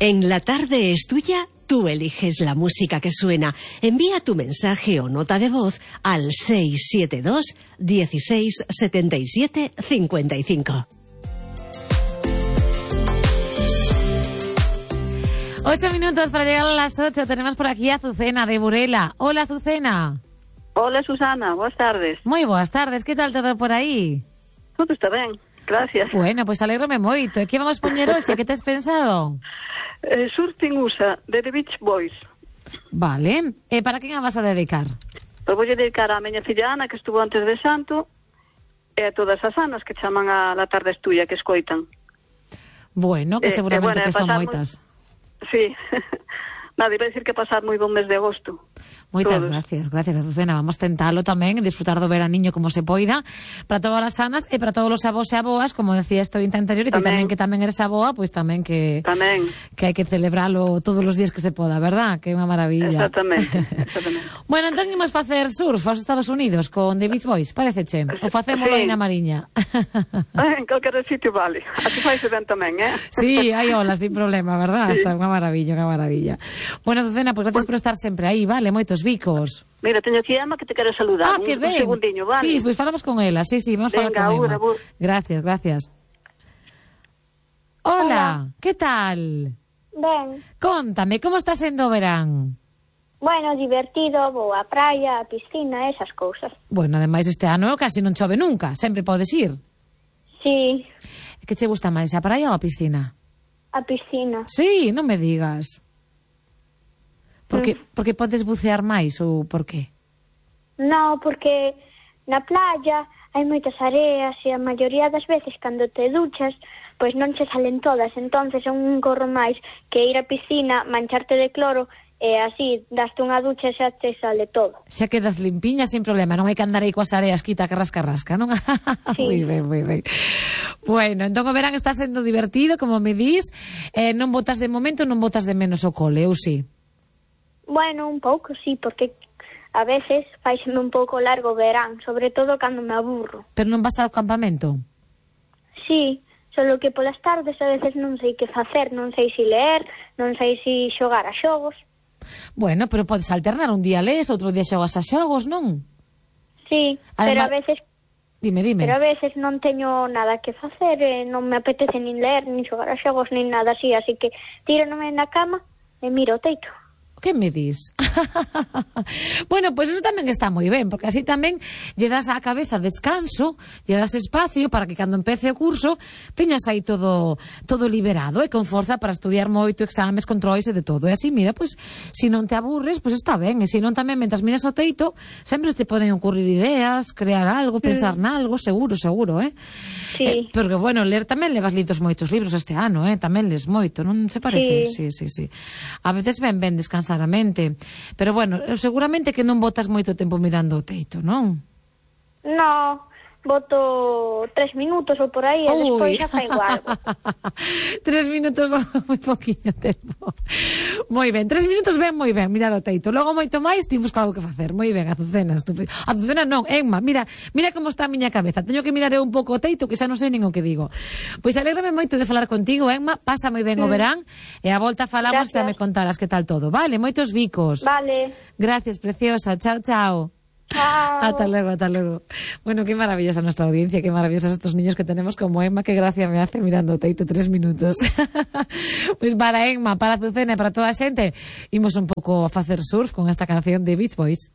En La Tarde es Tuya, tú eliges la música que suena. Envía tu mensaje o nota de voz al 672 16 77 55. 8 minutos para llegar a las 8. Tenemos por aquí a Azucena de Burela. Hola, Azucena. Hola, Susana. Boas tardes. Moi boas tardes. Que tal todo por aí? Todo está ben. Gracias. Bueno, pues alégrome moito. E que vamos poñer hoxe? Que tes pensado? Surfing USA, de The Beach Boys. Vale. E para quen a vas a dedicar? Pois vou dedicar a miña filla Ana, que estuvo antes de Santo, e a todas as Anas que chaman a La Tarde es Tuya, que escoitan. Bueno, que seguramente que son moitas. Sí. Nada, iba a decir que pasar moi bon mes de agosto. Moitas gracias, Azucena. Vamos tentalo tamén, disfrutar do veraniño como se poida, para todas as sanas e para todos os avós e aboas, como decía este ointe anterior, e que tamén eres aboa, pois tamén que hai que celebralo todos os días que se poda, verdad? Que é unha maravilla. Exactamente. Bueno, entón imos facer surf aos Estados Unidos con The Beach Boys, pareceche? O facémolo aí na Mariña? En calquer sitio vale. Aquí faise ben tamén, Sí, hai olas, sin problema, verdad? Sí. Está unha maravilla. Bueno, Azucena, pois gracias por estar sempre aí, vale? Moitos bicos. Mira, teño aquí a Emma que te quere saludar. Que ben. Un segundiño, vale? Sí, pois falamos con ela. Sí, vamos a falar con Emma. Gracias. Hola, que tal? Ben. Contame, como está sendo o verán? Bueno, divertido, vou á praia, á piscina, esas cousas. Bueno, ademais este ano casi non chove nunca, sempre podes ir. Sí. Que che gusta máis, a praia ou a piscina? A piscina. Sí, non me digas. Porque podes bucear máis ou por qué? No, porque na playa hai moitas areas e a maioría das veces cando te duchas, pois non che salen todas, entonces é un gorro máis que ir á piscina, mancharte de cloro e así daste unha ducha e xa te sale todo. Xa quedas limpiña sin problema, non hai que andar aí coas areas quita que rasca, non? Sí. Moi ben. Bueno, entón o verán está sendo divertido, como me dis, non botas de momento, non botas de menos o cole, ou si? Bueno, un pouco, sí, porque a veces faiseme un pouco largo o verán, sobre todo cando me aburro. Pero non vas ao campamento? Sí, solo que polas tardes a veces non sei que facer, non sei si leer, non sei si xogar a xogos. Bueno, pero podes alternar, un día lees, outro día xogas a xogos, non? Sí, pero a veces... Dime. Pero a veces non teño nada que facer, non me apetece nin leer, nin xogar a xogos, nin nada así, así que tíronome na cama e miro o teito. Que me dis? Bueno, pois eso tamén está moi ben, porque así tamén lle das á cabeza descanso, lle das espacio para que cando empece o curso teñas aí todo liberado e con forza para estudiar moito, exames, controis e de todo. E así, mira, pois, se non te aburres, pois está ben. E se non tamén, mentras miras o teito, sempre te poden ocurrir ideas, crear algo, pensar nalgo, seguro, Sí. Porque, bueno, ler tamén levas lidos moitos libros este ano, tamén les moito, non se parece? Sí. A veces ben descansar a mente. Pero, bueno, seguramente que non botas moito tempo mirando o teito, non? No, boto 3 minutos ou por aí e despois xa fai algo. 3 minutos moi poquinho tempo. Moi ben, 3 minutos ben, moi ben, mirar o teito. Logo moito máis, ti busca algo que facer. Moi ben, Azucena, Azucena non, Emma, mira como está a miña cabeza. Teño que mirar un pouco o teito que xa non sei nin o que digo. Pois alégrame moito de falar contigo, Emma, pasa moi ben o verán e a volta falamos e me contarás que tal todo. Vale, moitos bicos. Vale. Gracias, preciosa. Chao. Chao. Hasta luego. Bueno, qué maravillosa nuestra audiencia, qué maravillosos estos niños que tenemos como Emma, qué gracia me hace mirando o teito 3 minutos. Pues para Emma, para Azucena e para toda a xente, imos un pouco a facer surf con esta canción de Beach Boys.